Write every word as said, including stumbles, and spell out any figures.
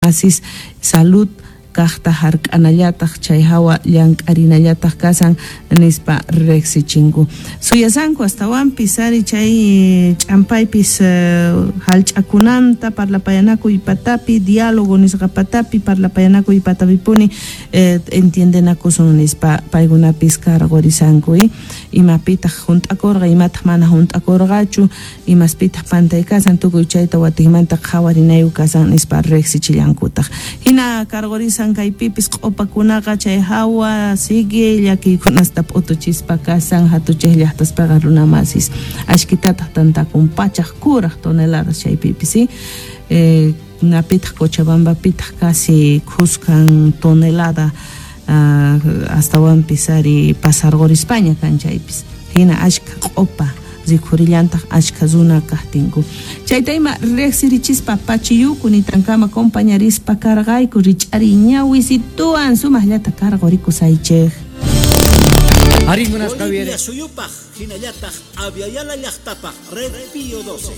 Asis salud kaqta hark'anallataq chay hawa llank'arinallataq kasan nispa riqsichinku. Suyasanku astawanpis ari chay ch'ampaypis hallch'akunanta parlapayanakuy patapi, diálogo nisqa patapi, parlapayanakuy patapipuni eh, entiendenakusun nispa paykunapis karqurisanku imapitaq hunt'akurqa, imataq mana hunt'akurqachu, imaspitaq pantay kasan, tukuy chayta watikmanta qhawarinayu kasan nispa riqsichillankutaq. Hina karqurisan kaypipis q'upakunaqa chay hawa sigue llakiykunasta p'utuchispa kasan hatuchik llaqtaspaqa runamasis ashkitataq tantakun pachaq kuraq toneladas chaypipis ¿sí? Eh, napitaq Cochabambapitaq casi khuskan tonelada uh, astawanpis ari pasarqurispaña kan chaypis hina ashka q'upa rikhurillantaq ashka runa kaqtinku chayta ima riqsirichispa pachiyuku nitankama compañarispa karqayku rich'ari ñawisituwan sumaqllata karqurikusaychik. Ari munasqa Bolivia suyupaq hinallataq Abya Yala llaqtapaq Red Pío doce.